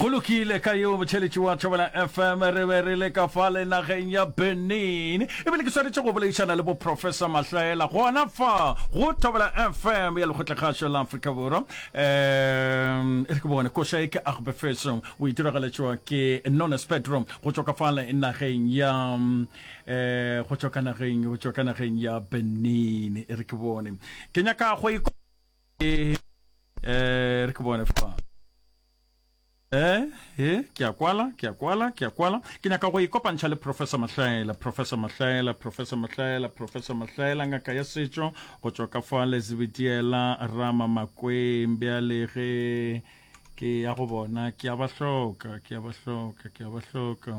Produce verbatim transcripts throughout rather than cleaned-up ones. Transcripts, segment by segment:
Go lokile ka yeo motšheletši wa Thobela F M, re be re le ka fale nageng ya Benin, ebile ke swanetše go boledišana le bo Professor Mahlaela gona fa go Thobela F M ya Lekgotlakgašo la Afrika Borwa. um e re ke bone koša e ke Agbefeso, o e diragaletšwa ke Nones Pedro go tšwa ka fale nageng ya um go tšwa ka nageng go tšwa ka nageng ya Benin. E re ke bone, ke nyaka go e eh re ke bone fa. Eh, eh, ke a kwala, ke a kwala, ke a kwala. Ke nyaka go ikopantšha le Professor Mahlaela, Professor Mahlaela, Professor Mahlaela, Professor Mahlaela, ngaka ya setšo, go tšwa ka fa Lezibitiela Rama Makweng. Bjale ge ke ya go bona, ke a ba hloka, ke a ba hloka, ke a ba hloka.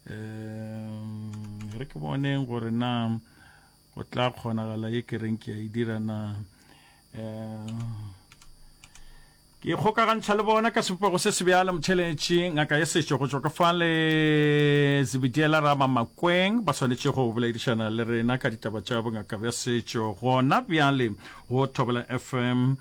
Um, re ke boneng gore na go tla kgonagala ye ke reng ke a e dira na. Um, ke kgokagantšha le bona ka sebopego se se bjalo, motšheletši, ngaka ya setšo go tšwa ka fale Zebediela Rama Makweng, ba swanetše go boledišana le rena ka ditaba tša bongaka bja setšo gona bjale go Thobela F M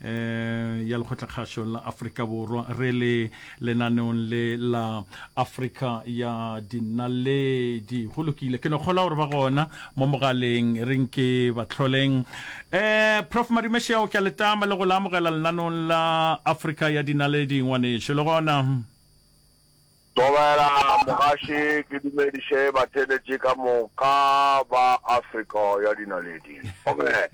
eh ya Lekgotlakgašo la Afrika Borwa, re le lenaneong le la Afrika ya Dinaledi. Go lokile, ke no kgola gore ba gona mo mogaleng, re nke batlholeng. eh Prof Madumešeo, ke a letama le go la amogela lenaneong la Afrika ya Dinaledi, ngwanešo, le gona. Thobela mogaši, ke dumediše batheeletši ka moka ba Afrika ya Dinaledi. Okay.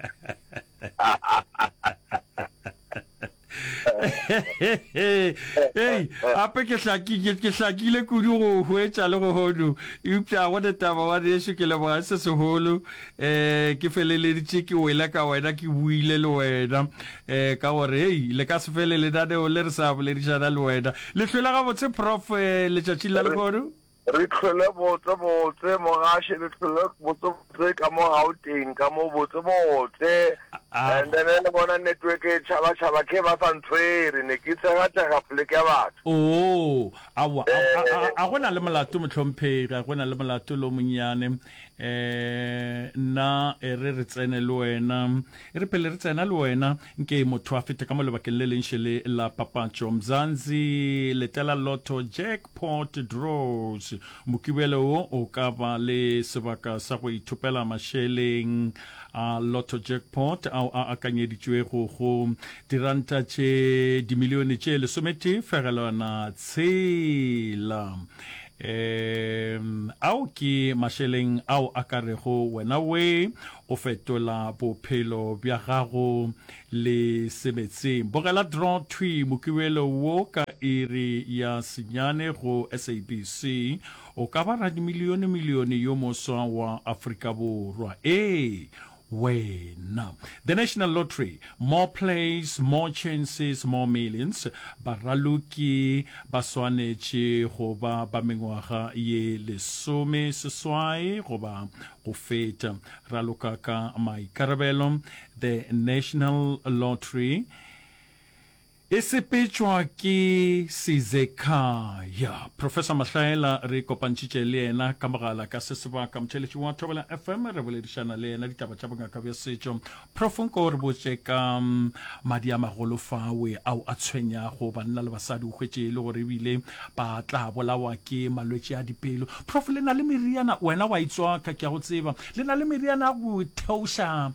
Ei, gape ke hlaki ke hlakile kudu go hwetša le go hono, eupša go ne taba wa nešo, ke leboga se segolo. um ke feleleditše ke wele ka wena, ke buile le wena um ka gore hei, le ka se fele lenaneo le re sa boledišana le wena. Le hlwele gabotse, Prof, letšatšing la lehono? Re hlwele botse botse mogaši, re hlwele botse botse ka mo Gauteng, ka mo botse botse. And then le bona network e tšhaba tšhaba ke ba sa ntshwere, ne ke tshega tshega poleke ya batho. Oo, aowa, a, a, a go na le molato mohlomphegi, a go na le molato lo monnyane. Eh, nna e re re tsene le wena, e re pele re tsena le wena, nke motho a fete ka mo lebakeng le leng šele la papatšo. Mzansi letela Lotto Jackpot Draws. Mokibelo wo o ka ba le sebaka sa go ithopela mašeleng a Lotto Jackpot ao a akanyeditšwego go diranta tše dimilione tše lesometee fegelwana tshela. Um ao ke mašeleng ao a ka rego wena we o fetola bophelo bja gago le sebetseng. Bogela draw thwi mokibelo wo ka iri ya senyane go S A B C. O ka ba radimilione milione yo moswa wa Afrika Borwa. Ee wena. The National Lottery, more plays, more chances, more millions. Baraloki ba swanetše go ba ba mengwaga ye lesome seswai goba go feta. Raloka ka maikarabelo. The National Lottery e sepetšwa ke Sizekhaya. Professor Mahlaela re kopantšhitše le yena ka mogala ka se sebaka, motšheletši wa Thobela F M, re boledišana le yena ditaba tša bongaka bja setšo. Prof, nko re botše ka madi a magolo fawe ao a tshwenyago banna le basadi, o hwetše e le gore ebile ba tla bolawa ke malwetši a dipelo. Prof, le na le meriana, wena wa itswaka, ke a go tseba, le na le meriana ya go theoša um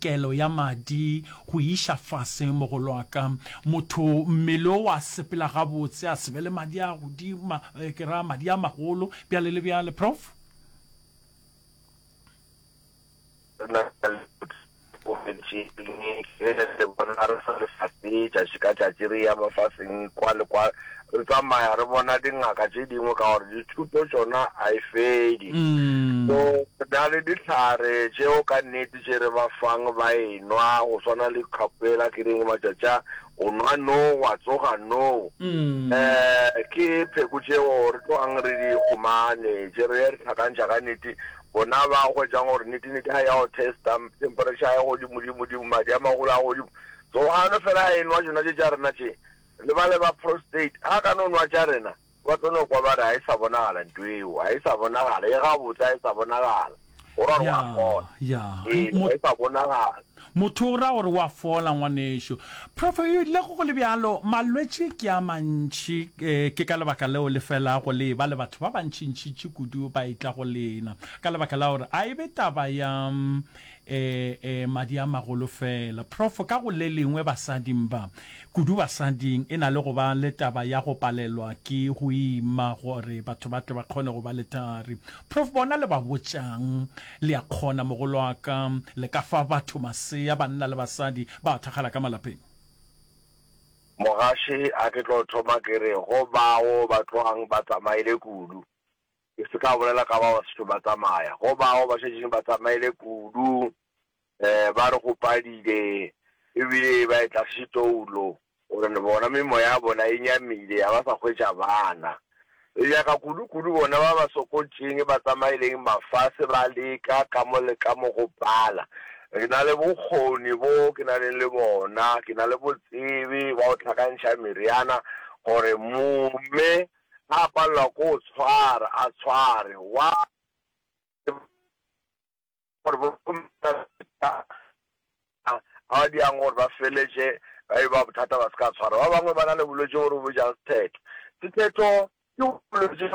kelo ya madi go iša fase, mogolo wa ka, motho mmele o wa sepela gabotse, a se be le madi a godimo, ke ra madi a magolo bjale le bjale, Prof? Re na le le bona re sa lefase tšatši ka tšatši, re ya mafaseng kwa le kwa, re tsamaya re bona dingaka tše dingwe ka gore dithuto tšona a e fedi. So re na le dihlare tšeo ka nnete tše re ba fang ba enwa, go swana le kgapela ke reng matšatši a o nwa no wa tsoga no. um ke pheko tšeo re tlogang re di humane tše re re hlakantšha ka nnete, bona ba hwetšang gore nnete-nnete ga ya go testa temperature ya godimo-dimo-dimo, madi a magolo a godimo. So ga no fela a enwa tšona tše tša rena tše, le ba le ba prostate, ga ka no nwa tša rena, ba tlo no kwa ba re ga e sa bonagala ntho eo, ga e sa bonagala, e gabotse ga e sa bonagala. Go ra gore wa Ya, fola. ya. Ee, Mo ga e sa bonagala. Motho o ra gore wa fola ngwanešu. Prof le go go le bjalo malwetši ke a mantši eh, ke ka lebaka leo le felago le ba le batho ba bantšintšintši kudu ba etla go lena ka lebaka la gore a e be taba ya eh, eh, madi a magolo fela. Prof ka go le lengwe basading ba kudu basading e na le go ba le taba ya go palelwa ke go ima gore batho ba tle ba kgone go ba le thari. Prof bona le ba botšang le a kgona mogolo wa ka le ka fa batho masea banna le basadi ba thakgala ka malapeng. Mogaši a ke tlo thoma ke re go bao ba tlogang ba tsamaile kudu, ke se ka bolela ka bao ba sešo ba tsamaya, go bao ba šetšeng ba tsamaile kudu um ba re go padile ebile ba e tla setoulo gore le bona memoya ya bona e nyamile ga ba sa hwetša bana. Re nyaka kudu-kudu bona ba ba sokotšeng ba tsamaileng mafase ba leka ka mo le ka mo go pala. Re na le bokgoni bo ke na leng le bona, ke na le botsebe ba go hlakantšha meriana gore momme a palelwa ko o tshwara a tshware wa gore bo a diang gore ba feletše ba e ba bothata ba se ka tshwara. Ba bangwe ba na le bolwetši bo re bo botšang sethetho. Sethetho ke bolwetši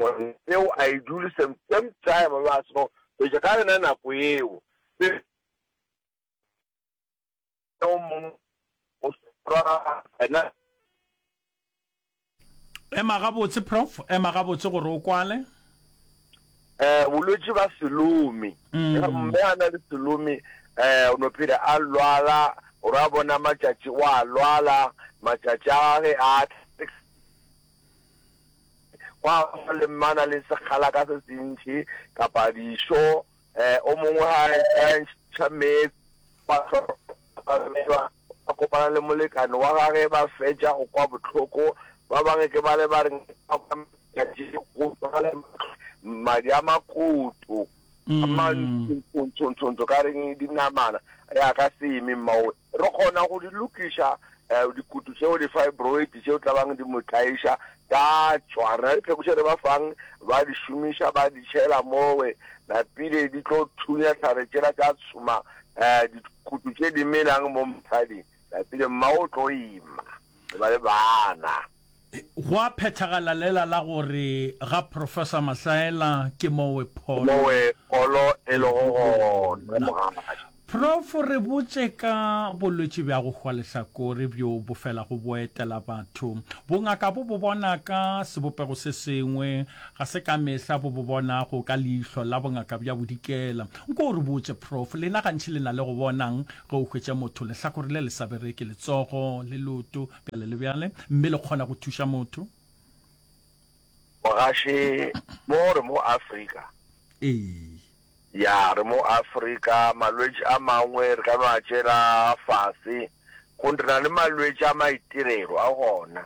gore eo a e dule same same time ba seno fetša ka yona nako eo. O mongwe o swara ena Ema gabotse prof, ema gabotse gore o kwale. Eh bolwetši ba selomi. Mme a na le selomi eh o no phela a lwala gore a bona matšatši wa lwala matšatši a gage a gwa ba le mmana le sekgala ka se sentši kapa dišo eh o mongwe ga a ntšha meetse ba kopana le molekane wa gage ba fetša go kwa bohloko. Ba bangwe ke ba le ba reng madi a makoto a mantshontshontshontsho ka reng dinamana ya ka seme mmao. Re kgona go di lokiša dikutu tšeo di-fibroid tšeo tla bang di mo tlaiša ka tšwa. Re na le dipheko tše re ba fang ba di šomiša ba di tšhela mowe napile di tlo thunya tlhare tšela tša tshuma dikutu tše di melang mo mosading napile mma o tlo ima ba le bana. Go a phethagala lela la gore ga Professor Mahlaela ke mowe pholo mowe pholo e lego gona mogaši. Prof re botše ka bolwetši bja go hwa lehlakore bjo bo felago bo etela batho. Bongaka bo bo bona ka sebopego se sengwe, ga se ka mehla bo bo bonago ka leihlo la bongaka bja bodikela. Nko o re botše Prof, lena gantši le na le go bonang ge o hwetša motho lehlakore le le sa bereke, letsogo le leoto bjale le bjale, mme le kgona go thuša motho? Mogaši mo re mo Afrika. Ee. Ya re mo Afrika malwetši a mangwe re ka no a tšela fase go re na le malwetši a maitirelo a gona.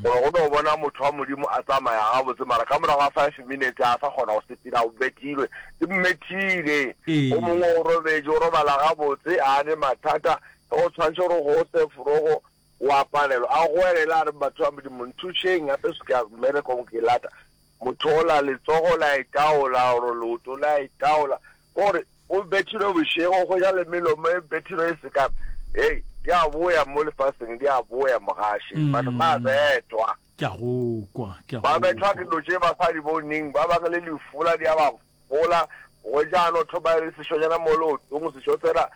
Gore go no bona motho wa Modimo a tsamaya gabotse mara ka morago ga five minutes a sa kgona go sepela o bethilwe di mmethile. O mongwe o robetše o robala gabotse a ne mathata go tshwanetse gore go se forogo wa palelwa a goelela a re batho ba Modimo nthušeng gape se ke ya mmerekong ke lata. Motho ola letsogo la itaola gore leoto la itaola gore o bethilwe bošego go ja le melomo e bethilwe e seka. Hei di a boya mo lefaseng, di a boya mogaši. Batho ba bethwa. Ke a go kwa, ke a Ba bethwa ke dilo tše ba sa di boneng. Ba bangwe le lefola di a ba fola. Go ja no thoma le sešonyana mo leotong, sešo sela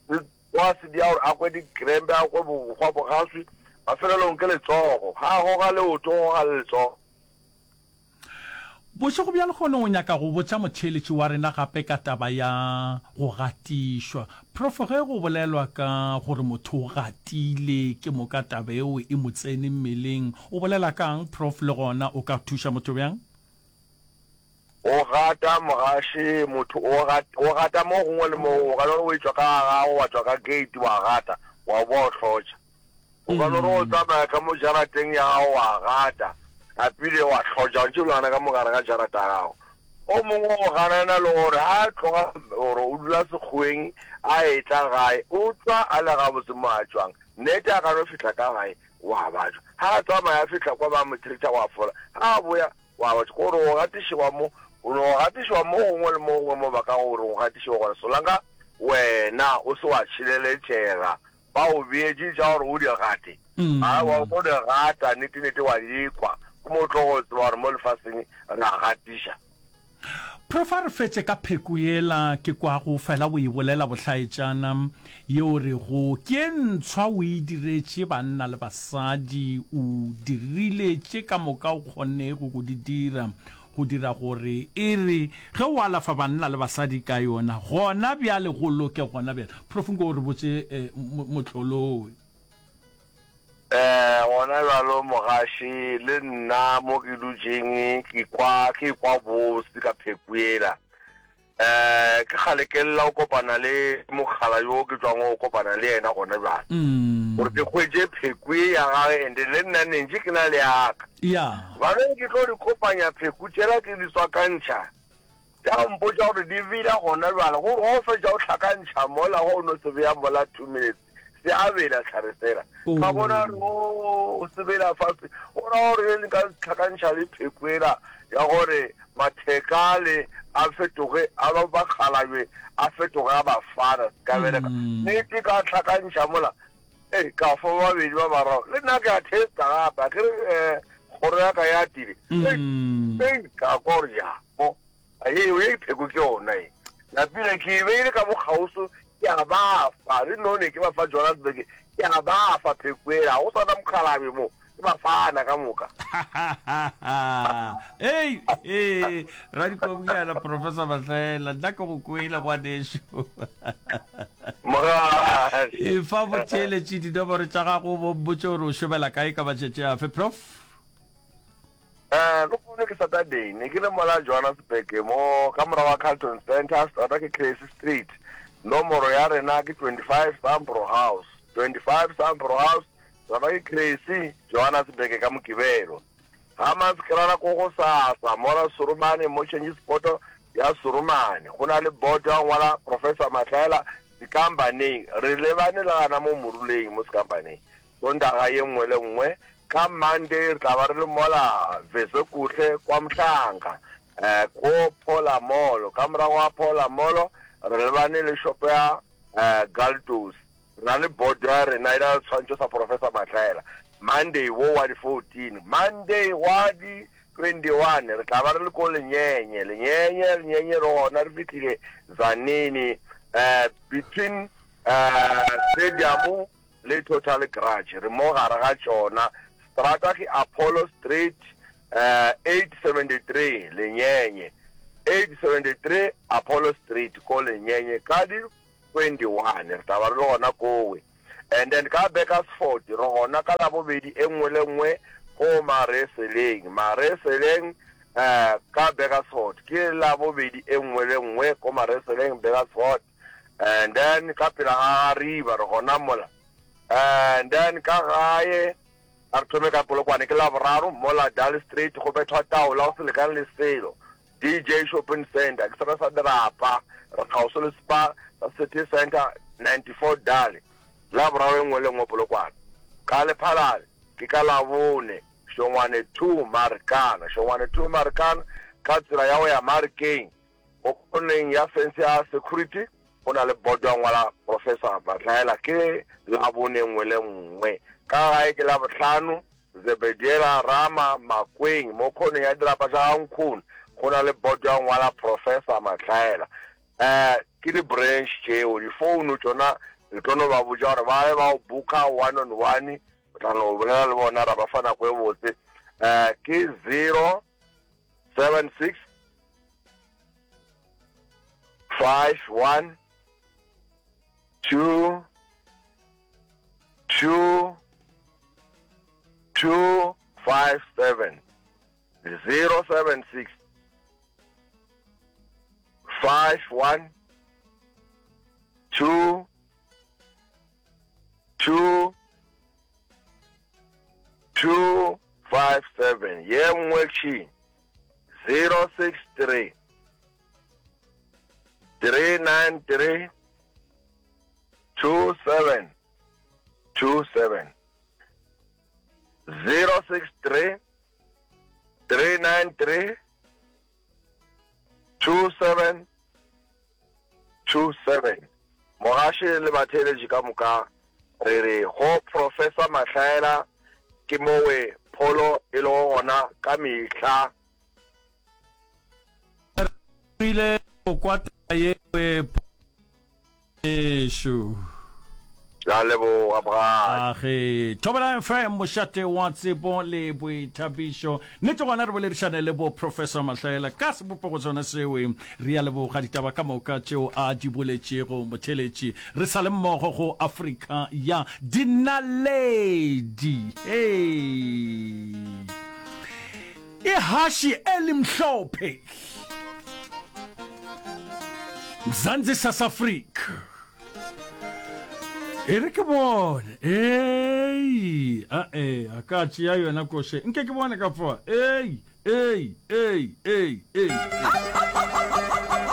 se tloga se dia gore a kwe dikrempe, a kwe bogwa bogaswi. Mafelelong ke letsogo. Ga a goga leoto, o goga le letsogo. Bošego bja lehono o nyaka go botša motheeletši wa rena gape ka taba ya go gatišwa. Prof ge go bolelwa ka gore motho o gatile ke moka taba eo e mo tsene mmeleng, o bolela kang Prof le gona o ka thuša motho bjang? O gata mogaši, motho o gata, o gata mo gongwe le mo gongwe. O ka no re o etšwa ka ga gago wa tšwa ka gate wa gata wa boa o hlotša. O ka no re o tsamaya ka mo jarateng ya gago wa gata napile wa hlotša o ntše o le gana ka mo gare ga jarata ya gago. O mongwe o ganana le gore ga a tloga gore o dula sekgoweng a etla gae o tšwa a le gabotse mo a tšwang. Nnete a ka no fihla ka gae wa batšwa. Ga a tsamaya a fihla kwa ba mo treata wa fola. Ga a boya wa batšwa. Gore o gatišewa mo, o no gatišewa mo gongwe le mo gongwe mo ba ka gore o gatišewa gona. Solanka wena o se wa tšhireletšega ba o beetše tša gore o di gate a wa o di gata nnete-nnete wa di kwa ke mo o tlo go tseba gore mo lefaseng re a gatiša. Prof a re fetše ka pheko yela ke kwago fela o e bolela bohlaetšana yeo rego ke e ntshwa o e diretše banna le basadi o dirile tše ka moka o kgonnego go di dira go dira gore e re ge o alafa banna le basadi ka yona gona bjale go loke gona bjale. Prof nko o re botše mohlolo. Eh, gona bjalo mogaši le nna mo ke dutšeng ke kwa ke kwa bose ka pheko yela. Eh, ke kgale ke lla go kopana le mokgala yo ke tšwang go kopana le yena gona bjale. Gore ke hwetše pheko ye ya gage and le nna ne ntše ke na le yaka. Ya. Baneng ke tlo di kopanya pheko tšela ke di tswakantšha. Tša mpotša gore di bela gona bjale gore ge o fetša o hlakantšha mola ge o no se bea mola two minutes se a bela tlhare sela. Ka bona gore o se bela fase go ra gore ge nka hlakantšha le pheko ela ya gore matheka ale a fetoge a ba bakgalabje a fetoge a bafana se ka bereka. Nnete ka hlakantšha mola ee ka fa ba babedi ba bararo le nna ke a testa gape akere um kgoro ya ka ya atile. Ei ka kwa gore ya mo Ee, ye pheko ke yona ye. Napile ke e beile ka bokgauswi, ke a ba fa. Le none ke ba fa Johannesburg, ke a ba fa pheko yela. Ga go sa na mokgalabje mo, ke ba fana ka moka. Hei, ee, radikobiana Professor Mahlaela, nna ke go kwele ngwanešu. Mogadi. Efa botheeletši dinomoro tša gago, bo mpotše gore o šomela kae ka matšatši afe, Prof. Eh, lehono ke Saturday, ne ke le mola Johannesburg mo ka morago ga Carlton Centre, seterata ke Cressy Street, nomoro ya rena ke twenty-five Sambro House, twenty-five Sambro House, seterata ke Cressy, Johannesburg ka Mokibelo. Ga Maskerana ko gosasa mola Surumane mo change spot ya Surumane, go na le board ya go ngwala Professor Mahlaela Sekambaneng, re lebane le gana mo moruleng mo Sekambaneng. Sontaga ye nngwe le nngwe ka Monday re tla ba re le mola Vesekuhle kwa Mhlanga ko Phola Mall. Ka morago ga Phola Mall re lebane le shopo ya Galtos. Re na le board ya rena e na le setshwantšho sa Professor Mahlaela. Monday wo wa di fourteen, Monday wa di twenty one re tla ba re le ko Lenyenye. Lenyenye, Lenyenye re gona re fihlile Tzaneen between stadium le Total Garage. Re mo gare ga tšona. Strata ke Apollo Street, eight seventy three, Lenyenye. eight seventy three Apollo Street ko Lenyenye ka di twenty one re tla ba re le gona kowe. And then ka Burgersfort re gona ka Labobedi e nngwe le nngwe ko Mareseleng. Mareseleng ka Burgersfort ke Labobedi e nngwe le nngwe ko Mareseleng, Burgersfort. And then ka pela ga Gariba re gona mola. And then ka gae a re thome ka Polokwane ke Laboraro mola Dal Street go bethwa taola go se lekane le selo. D J Shopping Centre ke sona sa dirapa re kgauswi le Spar sa City Centre ninety four Dal. Laboraro e nngwe le nngwe Polokwane. Ka Lephalale ke ka Labone Šongwane two Marikana. Šongwane two Marikana ka tsela ya go ya Marikeng mo khoneng ya fence ya security go na le bodo ya ngwala Professor Mahlaela ke Labone nngwe le nngwe. Ka gae ke Labohlano Zebediela Rama Makweng mo khoneng ya dirapa tša ga Nkhono go na le bodo ya ngwala Professor Mahlaela. Eh ke di branch tšeo, di founu tšona le tlo no ba botša gore ba be ba o booka one on one, o tla no bolela le bona ra ba fa nako e botse. Eh ke zero seven six five one two two two five seven zero seven six five one two two two five seven. Ye nngwe ke zero six three three nine three two seven two seven zero six three three nine three two seven two seven. Mogaši le batheeletši ka moka re re go Professor Mahlaela ke mowe pholo e lego gona ka mehla. Re rile go kwa taba yeo Ešo. Ke a leboga, Bra. Age. Thobela F M, mošate wa tsebo le boithabišo. Nnete gona re boledišane le bo Professor Mahlaela ka sebopego sona sewe. Re a leboga ditaba ka moka tšeo a di boletšego motheeletši. Re sa le mmogo go Afrika ya Dinaledi. Hei. Ihashe elimhlophe. Mzansi South Africa. E re ke bone. Ei, a e, a ka tšea yona koše. Nke ke bone ka fa. Ei, ei, ei, ei, ei.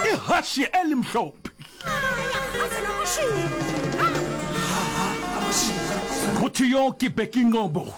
Ihashe elimhlophe. Motho yo ke Bheki Ngcobo.